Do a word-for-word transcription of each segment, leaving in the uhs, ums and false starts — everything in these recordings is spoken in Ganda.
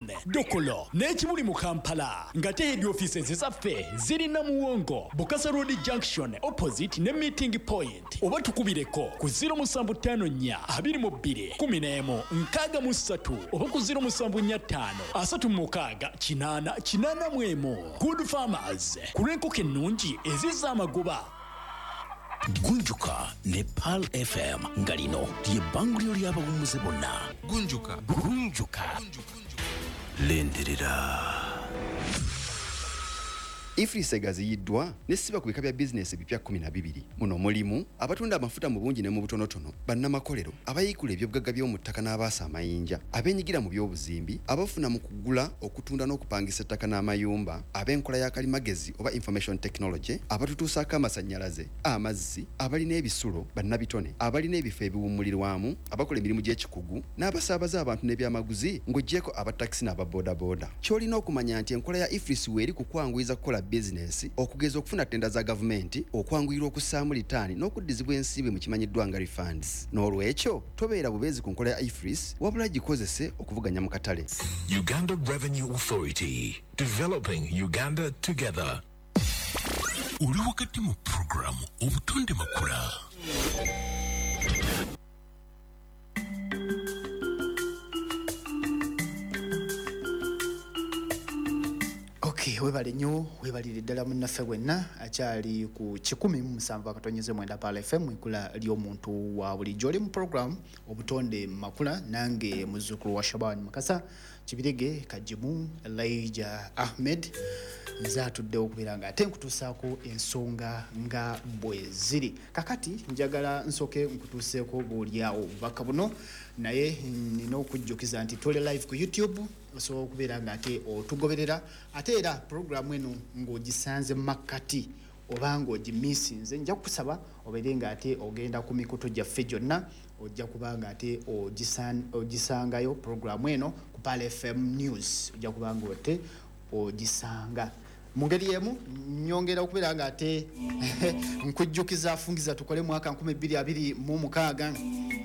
Dokolo n'ekibuli mu Kampala, ng'ate head offices zaffe ziri Namuwongo, Bukasa Road Junction opposite ne Meeting Point, oba tukubireko ku zero musanvu ttaano nnya abiri mu bbiri kkumi n'emu nkaaga mu ssatu oba ku zero musanvu nnya ttaano asatu mu mukaaga kinaana kinaana mu emu. Good Farmers, ku lw'enkoko ennungi ezizza amagoba. Gunjuka ne Pearl F M, nga lino lye bbanguliro ly'abawummuze bonna. Gunjuka. Gunjuka, lindirira. EFRIS egaziyiddwa nesiba ku bika bya bizinesi ebipya kkumi na bibiri. Muno mulimu abatunda amafuta mu bungi ne mu butonotono, bannamakolero, abayiikula ebyobugagga by'omu ttaka n'abaasa amayinja, abeenyigira mu by'obuzimbi, abafuna mu kugula, okutunda n'okupangisa ettaka n'amayumba, ab'enkola ya kalimagezi oba information technology, abatutuusaako amasannyalaze, amazzi, abalina ebisulo, bannabitone, abalina ebifo ebiwummulirwamu, abakola emirimu gy'ekikugu n'abasaabaza abantu n'ebyamaguzi, ng'oggyeko abatakisi n'ababoodabooda. Ky'olina okumanya nti enkola ya EFRIS weeri ku kwanguyiza kukola bizinesi, okugeza okufuna ttenda za gavumenti, okwanguyirwa okussaamu litaani n'okuddizibwa ensimbi mu kimanyiddwa nga refunds. N'olwekyo tobeera bubeezi ku nkola ya EFRIS, wabula gikozese okuvuganya mu katale. Uganda Revenue Authority. Developing Uganda together. Oli wakati mu puroguramu Obutonde Makula. Ok, webale nnyo, webalire ddala munnaffe bwenna akyali ku kikumi mu musanvu akatonyeze mwenda Pearl F M, ikula ly'omuntu wa bulijjo. Oli mu program Obutonde Makula, nange muzzukulu wa Shaban Mukasa Kibirige Kajimu Elijah Ahmed, nze atuddewo okubeera nga ate nkutuusaako ensonga nga bwe ziri. Kakati njagala nsooke nkutuuseeko bw'oliawo obubaka buno, naye nina okujjukiza nti tuli live ku YouTube, osobola okubeera nga ate otugoberera. Ate era puroguramu eno ng'ogisanze makkati oba ng'ogimisinze, nja kukusaba obeere nga ate ogenda ku mikutu gyaffe gyonna, ojja kuba nga ate ogisan- ogisangayo puroguramu eno ku Pearl F M News, ojja kuba nga ate ogisanga. Mu ngeri emu nyongera okubeera nga ate nkujjukiza Fungiza Tukole mwaka nkumi bbiri abiri mu mukaaga,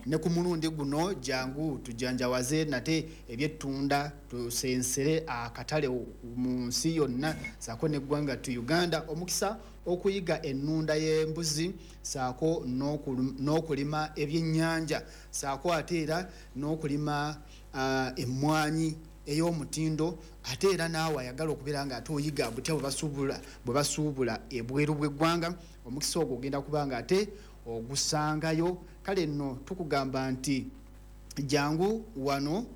ne ku mulundi guno jangu tujanjawaze nate ebyettunda, tusensere akatale mu nsi yonna saako neggwanga tu Uganda. Omukisa okuyiga ennunda y'embuzi saako n'okulu- n'okulima ebyennyanja saako ate era n'okulima ah, emmwanyi ey'omutindo. Ate era naawe ayagala okubeera nga ate oyiga butya bwe basuubula bwe basuubula ebweru bw'eggwanga, omukisa ogwo ogenda kuba nga ate ogusangayo. Kale nno tukugamba nti jangu wano,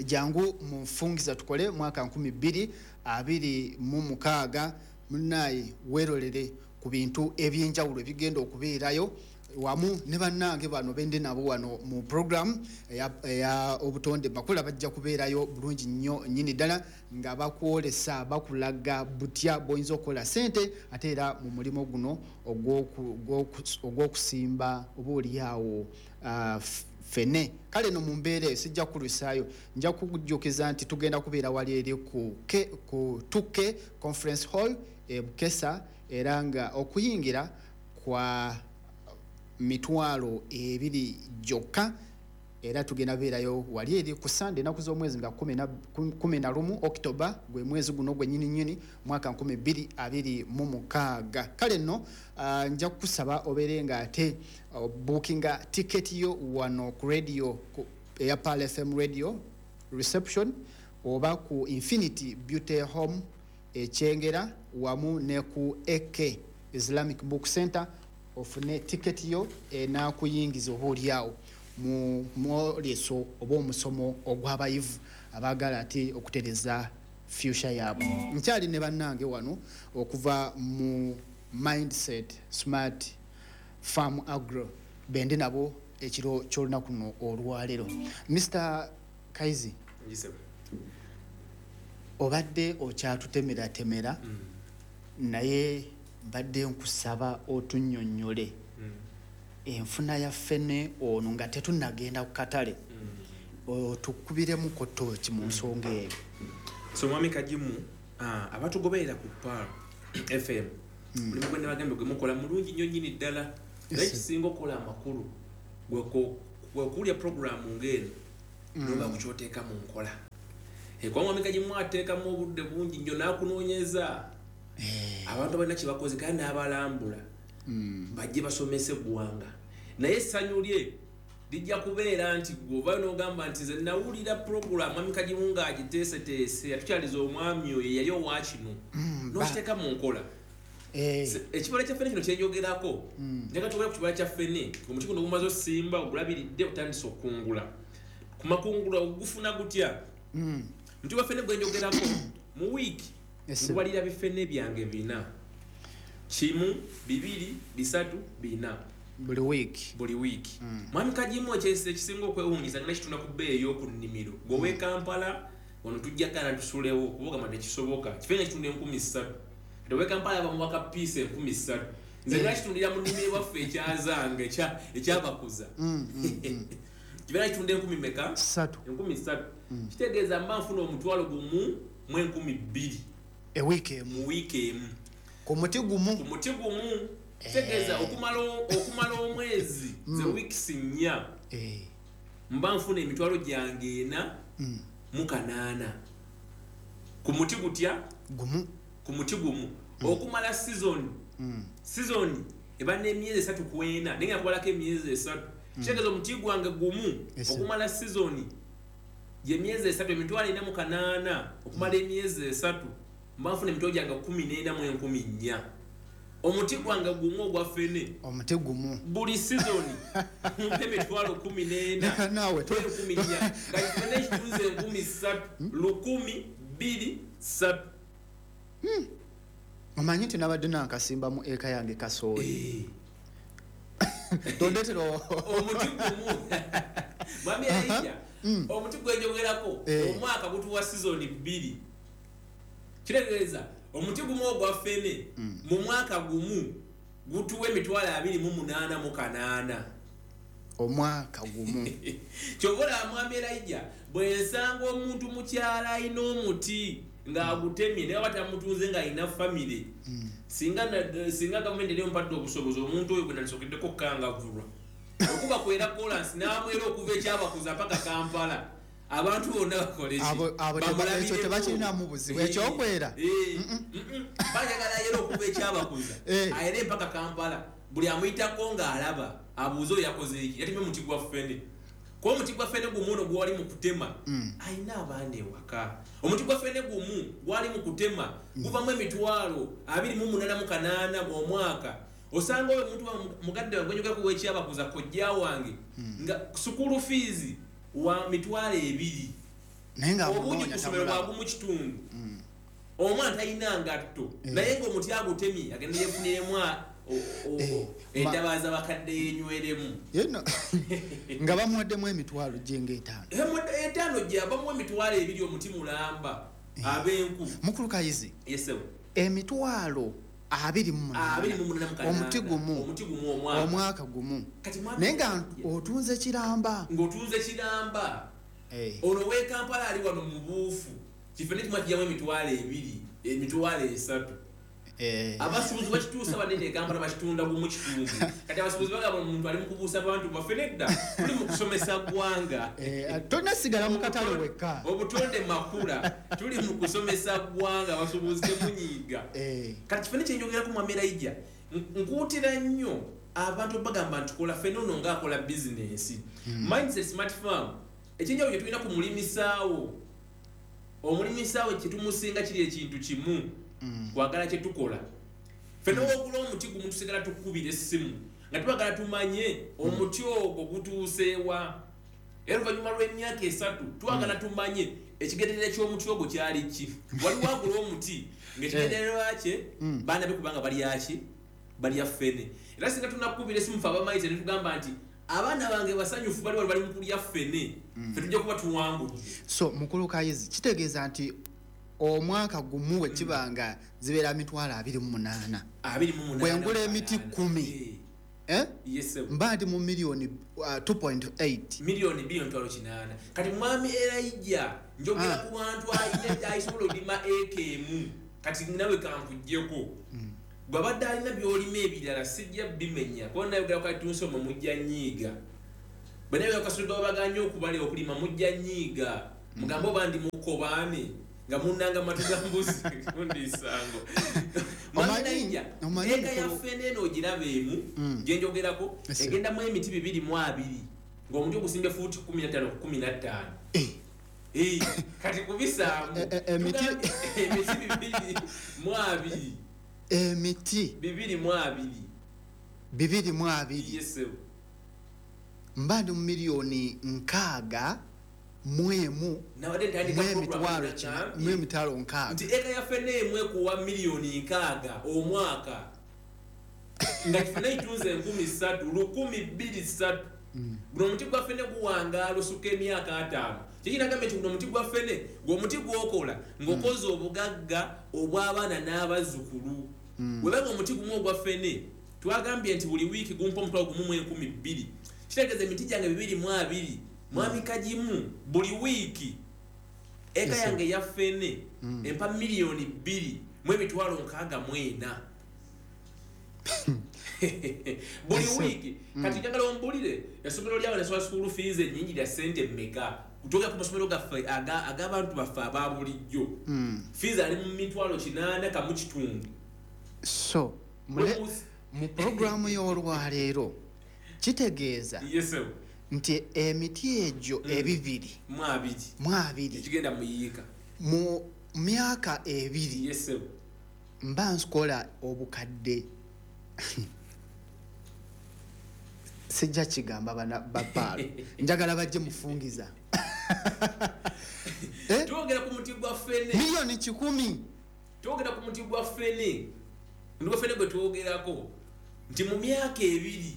jangu mu Nfungiza Tukole mwaka nkumi bbiri abiri mu mukaaga. Munaaye weerolere ku bintu ebyenjawulo ebigenda okubeerayo wamu ne bannange bano bende nabo wano mu program eya, eya Obutonde Makula. Bajja kubeerayo bulungi nnyo nnyini ddala nga bakwolesa, bakulaga butya bw'oyinza okukola sente ate era mu mulimu guno ogw'oku- ogw'oku- ogw'okusimba oba oliawo uh, fene. Kale no mu mbeera eyo sijja kulusaayo, nja kukujjukiza nti tugenda kubeera wali eri ku, K, ku two K Conference Hall e Bukesa, era nga okuyingira kwa mitwalo ebiri gyokka. Era tugenda beerayo wali eri ku Sande, ennaku z'omwezi nga kumi na- kumi na lumu October, gwe mwezi guno gwe nyini nyini, mwaka nkumi bbiri abiri mu mukaaga. Kale nno ah, nja kukusaba obeere nga ate uh, bookinga tiketi yo wano ku radio ku, eya Pearl F M radio reception oba ku Infinity Beauty Home Ekyengera wamu ne ku A K Islamic Book Center, ofune tiketi yo enakuyingiza oba oliawo mu mwoleso oba omusomo ogw'abayivu abaagala ate okutereza future yaabwe. Nkyali ne bannange wano okuva mu Mindset Smart Farm Agro, bendi nabo ekiro ky'olunaku luno olwaleero. Mister Kaizi, obadde okyatutemeratemera, naye mbadde nkusaba otunnyonnyole enfuna ya ffene ono nga tetunnagenda ku katale, otukubiremu tooki mu nsonga eyo. So mwami Kagimu, ah, abatugoberera ku Pearl F M, mulimu gwe nabagambye gwe mukola mulungi nnyo nnyini ddala, naye kisinga okukola amakulu gwe ku- gwe kuwulya puroguramu ng'eno. Noba kukyoteeka mu nkola. Kwa Mwami Kagimu ateekamu obudde bungi nnyo n'akunoonyeza. Abantu balina kye bakoze kandi n'abalambula. Bajje basomese eggwanga. Naye essanyu lye lijja kubeera nti gwe n'ogamba nti nze nawulira program Mwami Kagimu ng'agiteeseteese yatukyaliza omwami oyo yali owa kino. N'okiteeka mu nkola. Ekibala kya ffene kino kyenjogerako. Njagala twogere ku kibala kya ffene. Omuti guno gumaze osimba ogulabiridde otandise okukungula. Ku makungula ogufuna gutya? Omuti gwa ffene gwe njogerako mu wiiki ngubalira bifene byange bina. Kimu, bibiri, bisatu, bina. Buli wiiki. Buli wiiki. Mwami Kagimu ekisinga okwewuunyisa nga kitunda ku bbeeyi ey'oku nnimiro. Gwe ow'e Kampala wano tujja kana tusulewo kuba ogamba tekisoboka. Kifene kitunda enkumi ssatu. Kati ow'e Kampala bamuwa ka piisi enkumi ssatu. Nze nga kitundira mu nnimiro waffe ekyazange ekyabakuza. Kifene kitunda enkumi mmeka? Ssatu. Enkumi ssatu. Kitegeeza mba nfuna omutwalo gumu mu enkumi bbiri. Ewiiki emu. Mu wiiki emu. Ku muti gumu. Ku muti gumu. Kitegeeza okumala okumala omwezi ze weeks nnya. Mba nfuna emitwalo gyange ena mu kanaana. Ku muti gutya? Gumu. Ku muti gumu. Okumala season. Season eba n'emyezi esatu ku ena. Naye nga kubalako emyezi esatu. Kitegeeza omuti gwange gumu okumala season y'emyezi esatu emitwalo ena mu kanaana okumala emyezi esatu mba nfuna emitwalo gyange kkumi n'ena mu enkumi nnya. Omuti gwange gumu ogwa ffene. Omuti gumu. Buli season mpe emitwalo kkumi n'ena. Naawe enkumi nnya. Nga ffene ekitunze enkumi ssatu lukumi bbiri ssatu. Omanyi nti nabadde nankasimba mu eka yange kasooli. Tondeetera omuti gumu. Mwami Elijah, omuti gwe njogerako omwaka gutuwa season bbiri. Kitegeeza omuti gumu ogwa ffene mu mwaka gumu gutuwa emitwalo abiri mu munaana mu kanaana. Omwaka gumu. Ky'ova olaba Mwami Elijah bwe nsanga omuntu mu kyalo alina omuti ng'agutemye naye aba tamutunze ng'alina famire. Singa singa gavumenti eri empadde obusobozi omuntu oyo gwe nandisookeddeko okukangavvulwa. Okuba kwera kolansi n'amwera okuva ekyabakuza paka Kampala. Abantu bonna bakole ki? Abo ekyo tebakirinamu buzibu. Ekyokwera. Baagala ayere okuva ekyabakuza. Ayere mpaka Kampala. Buli amuyitako ng'alaba abuuze oyo yakoze eki. Yatemye omuti gwa ffene. Kuba omuti gwa ffene gumu ono gwali mu kutema. Alina abaana ewaka. Omuti gwa ffene gumu gwali mu kutema guvamu emitwalo abiri mu munaana mu kanaana omwaka. Osanga oyo omuntu mukadde wange gwenjogerako w'ekyabakuza kojja wange nga school fees wa mitwalo ebiri. Naye nga obungi ku ssomero bwagumu kitundu. Omwana talina ngatto naye ng'omuti agutemye agenda yeefuniremu endabaaza bakadde yenyweremu. Nga bamuwaddemu emitwalo gye etaano. Etaano gye bamuwa emitwalo ebiri omuti mulamba ab'enku. Mukulu Kayizi. Yes sir. Emitwalo abiri mu munaana. Omuti gumu. Omuti gumu omwaka. Omwaka gumu. Naye nga otunze kiramba. Ng'otunze kiramba. Ono w'e Kampala ali wano mu buufu. Kifene kimu kijjamu emitwalo ebiri, emitwalo esatu. Abasuubuzi bakituusa banene e Kampala bakitunda gumu kitundu. Kati abasuubuzi bagamba omuntu ali mu kubuusa abantu baffe nedda tuli mu kusomesa ggwanga. Tolina sigala mu katale wekka. Obutonde makula tuli mu kusomesa ggwanga abasuubuzi temunyiiga. Kati kifene kye njogerako Mwami Elijah nkuutira nnyo abantu bagamba nti kola ffene ono ng'akola bizinensi. Mindset Smart Farm ekyenjawulo kye tulina ku mulimisaawo. Omulimisaawo kye tumusinga kiri ekintu kimu. Kwagala kye tukola. Ffene w'ogula omuti gumu tusigala tukukubira essimu nga twagala tumanye omuti ogwo gutuuseewa. Era oluvannyuma lw'emyaka esatu twagala tumanye ekigendererwa ky'omuti ogwo kyali ki. Waliwo agula omuti ng'ekigendererwa kye baana be kubanga balya ki? Balya ffene. Era singa tunakukubira essimu ffe abamayite ne tugamba nti abaana bange basanyufu bali wali bali mu kulya ffene, ffe tujja kuba tuwangudde. So Mukulu Kayizi kitegeeza nti omwaka gumu we kibanga zibeera mitwalo abiri mu munaana. Abiri mu munaana. Bwe ngula emiti kkumi. Eh? Yes sir. Mba ndi mu miliyoni two point eight. Miliyoni bbiri emitwalo kinaana. Kati Mwami Elijah njogera ku bantu alina ayisobola olima eka emu. Kati nawe kankuggyeko. Bw'abadde alina by'olima ebirala sijja bimenya. Kuba nayogera ku katunsoma mujja nnyiiga. Bwe kasudde babaganye okubale okulima mujja nnyiiga mugambe oba ndi mukobaane nga munnanga matu ga mbuzi gundi isango. Mwanaija eka ya ffene eno ogiraba emu gye njogerako egendamu emiti bibiri mu abiri ng'omuti ogusimbye fuuti kkumi na ttaano ku kkumi na ttaano. Eh, kati kubisaamu emiti emiti bibiri mu abiri emiti bibiri mu abiri bibiri mu abiri yes mba ndi mu miliyoni nkaaga mu emu mu emitwalo nkaaga nti eka ya ffene emu ekuwa miliyoni nkaaga omwaka nga ffene itunze enkumi ssatu lukumi bbiri ssatu. Guno omuti gwa ffene guwangaala osukka emyaka ataano. Kiki nagambye nti guno omuti gwa ffene ng'omuti gw'okola ng'okoze obugagga obw'abaana n'abazzukulu. Bwe omuti gumu ogwa ffene twagambye nti buli wiiki gumpa omutwalo gumu mu enkumi bbiri. Kitegeeza emiti gyange bibiri mu abiri mwami Kagimu buli wiiki eka yange ya ffene empa miliyoni bbiri mu emitwalo nkaaga mu ena. Buli wiiki. Kati njagala ombulire essomero lyawe neswala school fees ennyingi lya ssente mmeka kutuuka ku masomero gaffe ag'abantu baffe aba bulijjo. Fees ali mu mitwalo kinaana kamu kitundu. So mu puroguramu y'olwaleero kitegeeza nti emiti egyo ebibiri mu abiri mu abiri ekigenda mu yiika mu myaka ebiri mba nkola obukadde sijja kigamba bana bapaalo njagala bajje mufungiza. Twogera ku muti gwa ffene miliyoni kikumi. Twogera ku muti gwa ffene ndi gwa ffene gwe twogerako nti mu myaka ebiri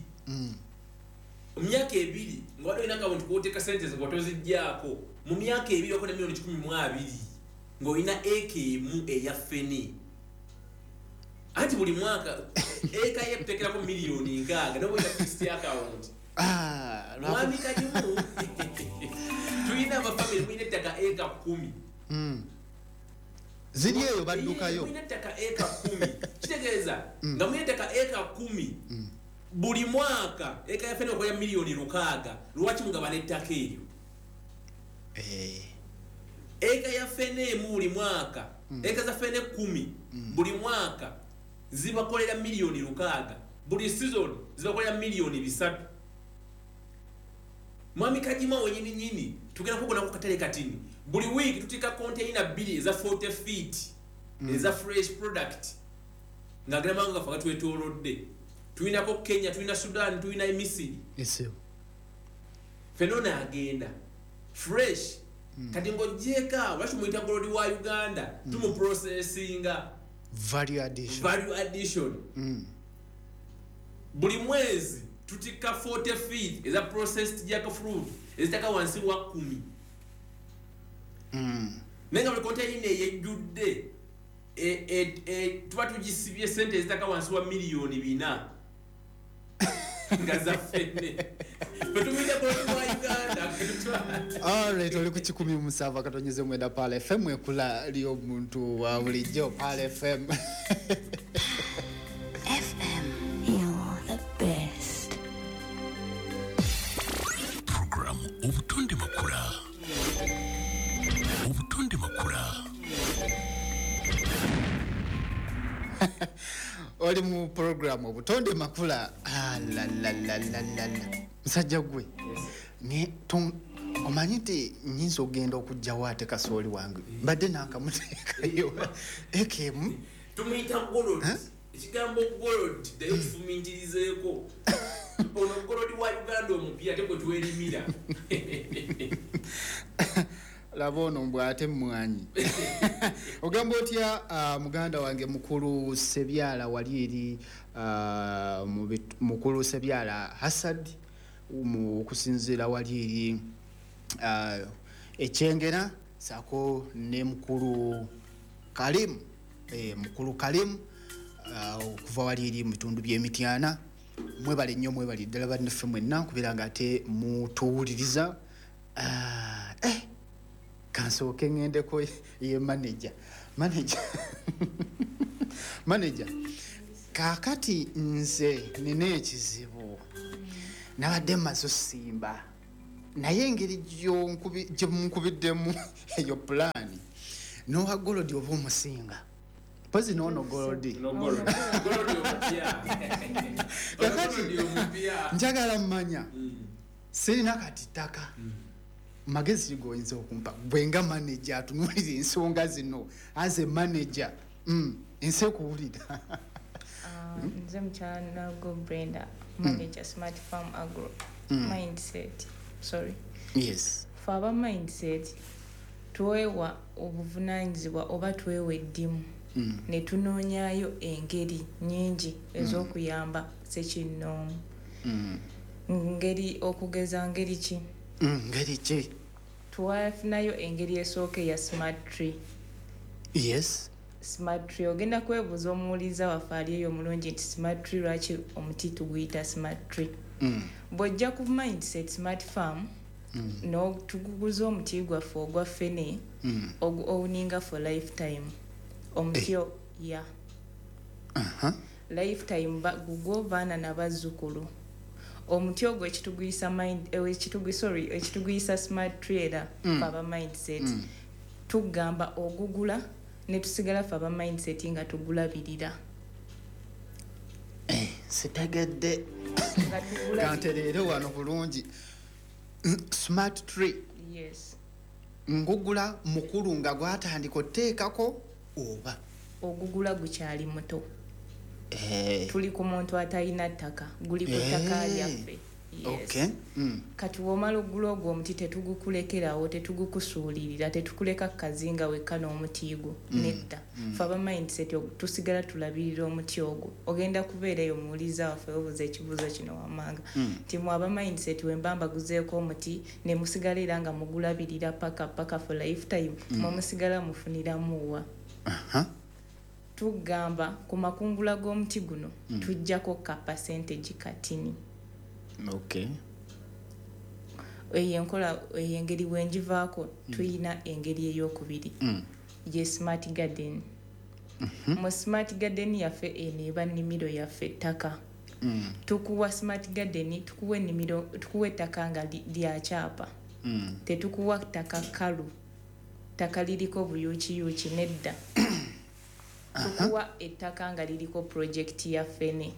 mu myaka ebiri nga waliwo olina akawunti k'oteeka ssente zo nga toziggyako mu myaka ebiri okola miliyoni kikumi mu abiri ng'olina eka emu eya ffene. Anti buli mwaka eka yekuteekerako miliyoni nkaaga n'oba olina fixed account. Mwami Kagimu tulina abafamire mulina ettaka eka kkumi. Ziri eyo baddukayo. Mulina ettaka eka kkumi. Kitegeeza nga mulina ettaka eka kkumi buli mwaka eka ya ffene okola miliyoni lukaaga lwaki mugabana ettaka eryo? Eka ya ffene emu buli mwaka eka za ffene kkumi buli mwaka zibakolera miliyoni lukaaga buli season zibakolera miliyoni bisatu. Mwami Kagima wenyini nyini tugenda kugona ku katale katini buli week tutika container bbiri eza forty feet eza fresh product nga gamba nga faga twetolodde. Tulinako Kenya, tulina Sudan, tulina Misiri. Fenona agenda fresh. Kati ng'ogyeka lwaki muyita gold wa Uganda tumuprocessinga value addition. Value addition. Buli mwezi tutika forty feet eza processed jackfruit ezitaka wansi wa kumi. Naye nga buli container eyejjudde tuba tugisibye ssente ezitaka wansi wa miliyoni bina nga za ffene. Tumuyita gold wa Uganda. Alright, oli ku kikumi musanvu akatonyeze mwenda Pearl F M ekula ly'omuntu wa bulijjo Pearl F M. F M, you're the best. Program Obutonde Makula. Obutonde Makula. Oli mu program Obutonde Makula. Ah la la la la la la. Musajja gwe. Omanyi nti nnyinza okugenda okuggyawo ate kasooli wange mbadde nankamuteekayo eka emu tumuyita gold. Ekigambo gold ddayo kifumintirizeeko. Ono gold wa Uganda omupya ate gwe twerimira. Laba ono mbw ate mmwanyi. Ogamba otya muganda wange mukulu Sebyala wali eri mukulu Sebyala Hasad okusinziira wali eri Ekyengera saako ne mukulu Kalim mukulu Kalim okuva wali eri mu bitundu by'Emityana. Mwebale nnyo mwebale ddala bannaffe mwenna nkubeera nga ate mutuwuliriza. Eh kansooke ŋŋendeko ye manager manager manager kaakati nze nina ekizibu nabadde mmaze osimba Naye engeri gye munkubiddemu eyo pulaani n'owa golodi oba omusinga mpozi n'ono golodi kakati njagala mmanya sirina kati ttaka magezi goyinza okumpa gwe nga manager atunuulira ensonga zino as a manager ensi ekuwulira. Nze mukyala Nago Brenda, manager Smart Farm Agro. Mindset, sorry. Yes. Fe aba mindset twewa obuvunaanyizibwa oba twewa eddimu ne tunoonyaayo engeri nnyingi ez'okuyamba ssekinnoomu. Ngeri okugeza ngeri ki? Ngeri ki? Twafunayo engeri esooka eya smart tree. Yes. Smart tree ogenda kwebuuza omuwuliza waffe ali eyo omulungi nti smart tree lwaki omuti tuguyita smart tree? Bw'ojja ku mindset smart farm n'otuguguza omuti gwaffe ogwa ffene ogu owninga for lifetime. Omuti ya lifetime gugwo baana n'abazzukulu. Omuti ogwo ekituguyisa mind ekituguyisa sorry ekituguyisa smart tree era fe aba mindset tugamba ogugula ne tusigala fe aba mindset nga tugulabirira. Eh, sitegedde. Kantereere wano bulungi. Smart tree. Yes. Ngugula mukulu nga gwatandika oteekako oba ogugula gukyali muto. Eh. Tuli ku muntu atalina ttaka, guli ku ttaka lyaffe. Yes. Okay. Mm. Kati womala ogula ogwo omuti tetugukulekerawo, tetugukusuulirira, tetukuleka kazinga wekka n'omuti gwo. Mm. Nedda. Mm. Fe aba mindset tusigala tulabirira omuti ogwo. Ogenda kubeera eyo omuwuliza waffe obuuza ekibuuzo kino wammanga. Mm. Nti mwe aba mindset we mba mbaguzeeko omuti ne musigala era nga mugulabirira paka paka for lifetime, Mm. mwe musigala mufuniramu wa? Aha. Tugamba ku makungula g'omuti guno Mm. tujjako ka percentage katini. Okay. Eyo enkola eyo engeri bwe ngivaako tuyina engeri ey'okubiri Mm. ye smart garden. Mm -hmm. Mu smart garden yaffe eno eba nnimiro yaffe ettaka. Mm. Tukuwa smart garden, tukuwa ennimiro, tukuwa ettaka nga lya kyapa. Mm. Tetukuwa ttaka kkalu, ttaka liriko buyuukiyuuki nedda. Tukuwa ettaka nga liriko project ya ffene.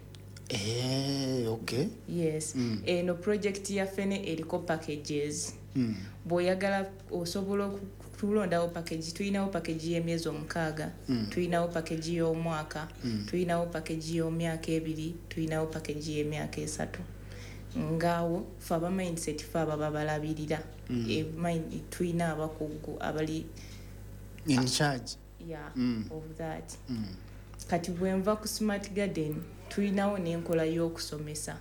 Eh, okay. Yes. Mm. Eno project ya ffene eriko packages. Mm. Bw'oyagala osobola okulondawo package, tulinawo package y'emyezi omukaaga, Mm. tulinawo package y'omwaka, Mm. tulinawo package y'emyaka ebiri, tulinawo package y'emyaka esatu. Ngaawo ffe aba mindset ffe ababa balabirira. Mm. E, mind, tulina abakugu abali in charge. Yeah, mm. of that. Mm. Kati bwe nva ku smart garden tulinawo n'enkola y'okusomesa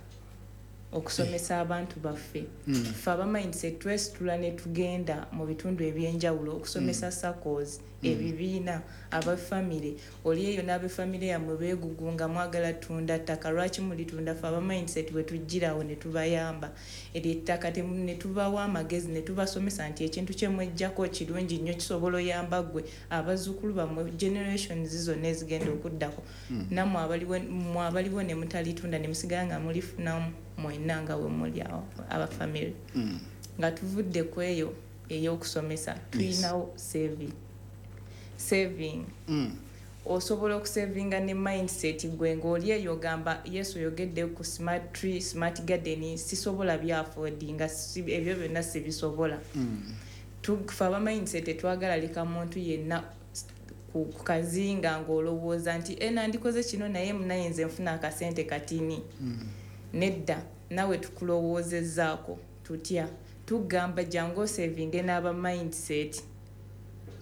okusomesa abantu baffe. Mm. Ffe aba mindset twesitula ne tugenda mu bitundu ebyenjawulo okusomesa Mm. SACCOs, Mm. ebibiina, abafamire. Oli eyo n'abafamire yammwe beegugunga mwagala ttunda ttaka, lwaki mulitunda? Ffe aba mindset bwe tujjirawo ne tubayamba eryo ettaka ne tubawa amagezi ne tubasomesa nti ekintu kye mweggyako kirungi nnyo, kisobola oyamba ggwe, abazzukulu bammwe, generations zonna ezigenda okuddako. Mm. Nammwe abaliwo, mmwe abaliwo ne mutalitunda ne musigala nga mulifunamu mwenna nga we muli awo abafamire. Mm. Nga tuvudde ku eyo ey'okusomesa tulinawo saving. Saving. Mm. Osobola okusavinga ne mindset gwe ng'oli eyo ogamba Yesu oyogedde ku smart tree, smart garden, sisobola byaffordinga, ebyo byonna sibisobola. Mm. Ffe aba mindset tetwagala leka muntu yenna ku kazinga ng'olowooza nti e nandikoze kino naye munaye nze nfuna akasente katini. Mm. Nedda, nawe tukulowoozezzaako tutya? Tugamba jangu osavinge n'aba mindset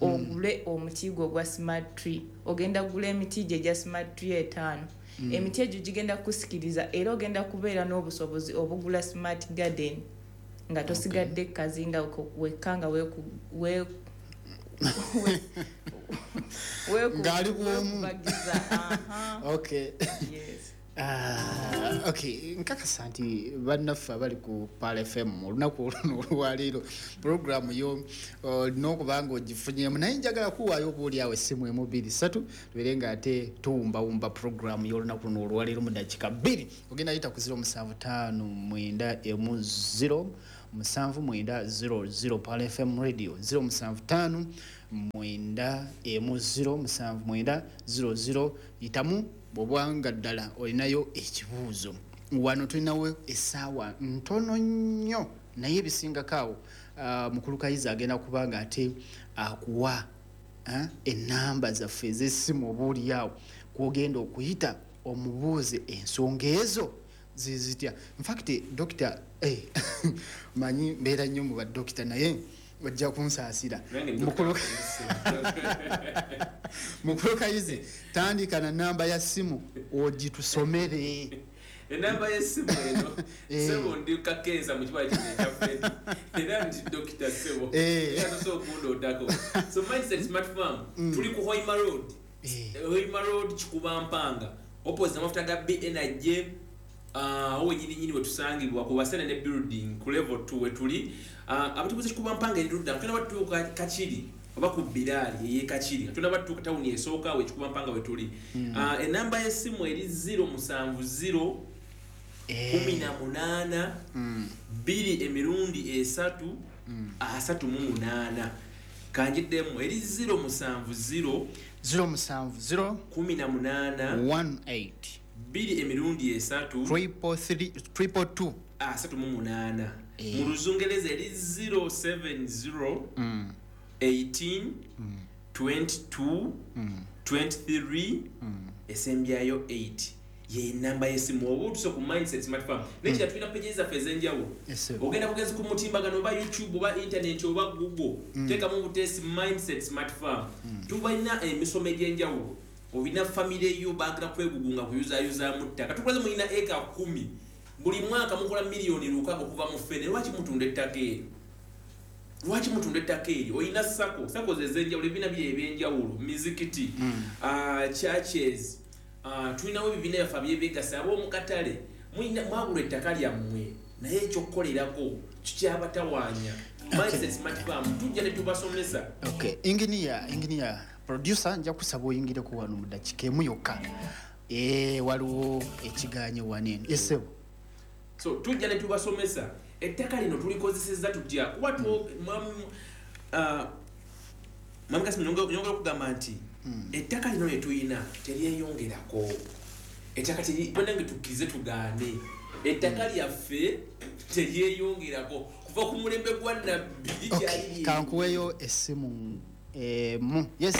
ogule omuti gwo ogwa smart tree. Ogenda kugula emiti gye egya smart tree etaano. Mm. Emiti egyo gigenda kukusikiriza era ogenda kubeera n'obusobozi obugula smart garden nga tosigadde kazinga wekka nga weeku we Ng'ali bw'omu. weekubagiza. Aha. Okay. Yes. Ah, okay, nkakasa nti bannaffe abali ku Pearl F M olunaku oluno olwaleero puroguramu yo olina okuba nga ogifunyemu, naye njagala kuwaayo oba essimu emu bbiri ssatu tubeere nga ate tuwumbawumba puroguramu y'olunaku luno olwaleero mu ddakiika bbiri. Ogenda yita ku zero musanvu ttaano mwenda emu zero musanvu mwenda zero zero Pearl F M Radio zero musanvu tano mwenda emu zero musanvu mwenda zero zero. Yitamu bw'obanga ddala olinayo ekibuuzo. Wano tulinawo essaawa ntono nnyo, naye ebisingako awo uh, mukulu Kayiza agenda kubanga ate akuwa uh, ennamba zaffe ez'essimu oba oli awo kw'ogenda okuyita omubuuze ensonga ezo zizitya. In fact, Doctor eh, manyi mbeera nnyo mu badokita, naye ojja kunsaasira. Mukulu Mukulu Kayizi, tandika na namba ya simu ogitusomere. Enamba y'essimu eno, sebo ndi kakensa mu kibala kino ekya Fred. Era ndi Dokita Sebo. Era tosobola okundootako. So Mindset Smart Farm, tuli ku Hoima Road. Hoima Road Kikuba Mpanga. Opposite amafuta ga B N J, awo wennyini nnyini we tusangibwa ku Basene ne building ku level two we tuli. Abatubuze Kikuba Mpanga eri ludda, tulina batuuka Kakiri oba ku Biraali ey'e Kakiri. Tulina batuuka tawuni esooka awo e Kikuba Mpanga we tuli. Enamba y'essimu eri zero musanvu zero kumi na munaana bbiri emirundi esatu asatu mu munaana. Kanjiddemu eri zero musanvu zero zero musanvu zero kumi na munaana one eight bbiri emirundi esatu triple three triple two asatu mu munaana. Mu Luzungereza eri zero seven zero eighteen twenty two twenty three esembyayo eight. Ye namba y'essimu oba otuse ku Mindset Smart Farm. Nekira tulina pages zaffe ez'enjawulo. Ogenda bugenzi ku mutimbagano oba YouTube oba internet oba Google, teekamu obuteesi Mindset Smart Farm. Tubalina emisomo egy'enjawulo. Olina famire yo baagala kwegugunga kuyuzaayuzaamu ttaka. Tukulaze mulina eka kkumi. Buli mwaka mukola miliyoni lukaaga okuva mu ffene. Lwaki mutunda ettaka eryo? Lwaki mutunda ettaka eryo? Olina SACCO, SACCO ze ez'enjawulo, ebibiina biri eby'enjawulo, mizikiti, churches. Uh, tulinawo ebibiina byaffe abyebegasa ab'omu katale, mwagula ettaka lyammwe, naye ekyokukolerako kikyabatawaanya. Mindset Smart Farm tujja ne tubasomesa. Okay, engineer, engineer, producer, nja kusaba oyingireko wano mu ddakiika emu yokka. Eh, waliwo ekigaanyo wano eno. Yes, sir. So tujja ne tubasomesa ettaka lino tulikozesezza tutya, kuba mwami Kasimu nyongera okugamba nti ettaka lino lye tulina teryeyongerako. Ettaka bannange tukkirize tugaane, ettaka lyaffe teryeyongerako kuva ku mulembe gwa Nabbi likyali. Kankuweyo essimu emu. Yes.